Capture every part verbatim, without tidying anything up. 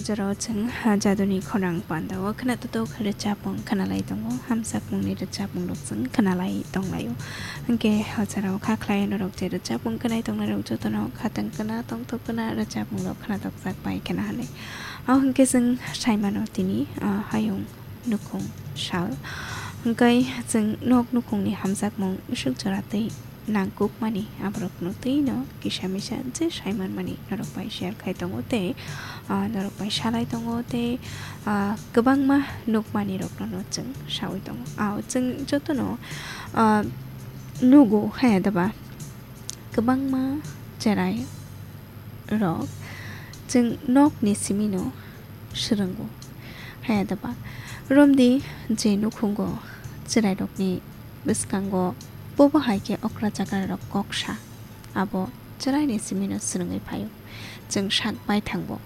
Jorao chwng, ha, jaduni khorang pandao khwnatok rwchapmung khwnalai tongo, hamjakmungni rwchapmungrok chwng khwnalai tonglaio. Hwnkhe o jorao kha khlai norok je rwchapmung khwnai tongnairok jotono khatang khwna tongthok khwna rwchapmungrok khwnatokjak bai khwna hwnwi. O hwnkhe chwng saimano tini, ah, hayung nukhung sal. Hwnkhe chwng nok nukhungni hamjakmung bwswk jora tei nangkukmani aborokno twi no kisa misa je sai manmani norok bai share khai tongo tei, ah, norok bai salai tongo tei, ah, kwbangma nukmani rokno no chwng saui tongo. Ah, chwng jotono, ah, nugo haya daba kwbangma cherai rok chwng nokni simino swrwngo. Haya daba romdi je nukhungo chwrairokni bwskango bobo hai khe okra chakra rok kok sa, abo chwraini simino swrwngwi phaio. Chwng sak bai thangbo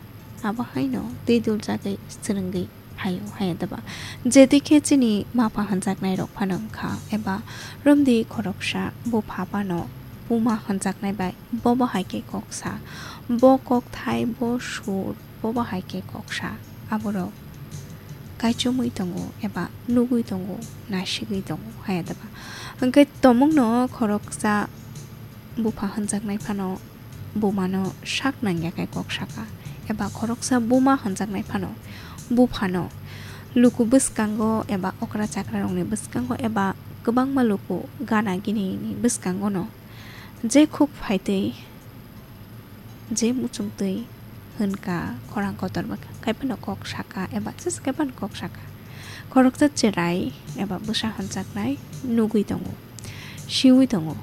abo haino twi duljagwi swrwngwi phaio haya daba. Jeti khe chini mapha hwnjaknai rok phano wngkha eba romdi khoroksa bupha phano buma hwnjaknai bai bobo hai khe kok sa, bo kokthai, bo sur, bobo hai khe kok sa, aborok kaichomwi tongo eba nugwi tongo, nasigwi tongo haya daba. Hwnkhe tomungno khoroksa bupha hwnjaknai phano bumano sak nangya khe kok saka, eba khoroksa buma hwnjaknai phano buphano luku bwskango eba okra chakrarokni bwskango eba kwbangma luku gana ginini bwskangono je khuk phaitwi je muchungtwi hwnka, khorang kotorma khai phano kok saka eba jesa khai phano kok saka. Khoroksa cherai eba bwsa hwnjaknai nugwi tongo, siui tongo,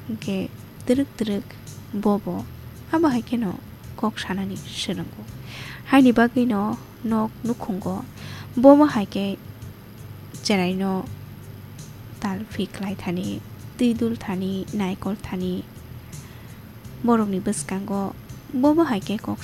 hwnkhe twrwk twrwk bobo abo hai kheno kok sanani swrwngo. Haini bagwino nok nukhungo bobo hai khe cheraino talphi khlai thani, twi dul thani, naikol thani, borokni bwskango bobo hai khe kok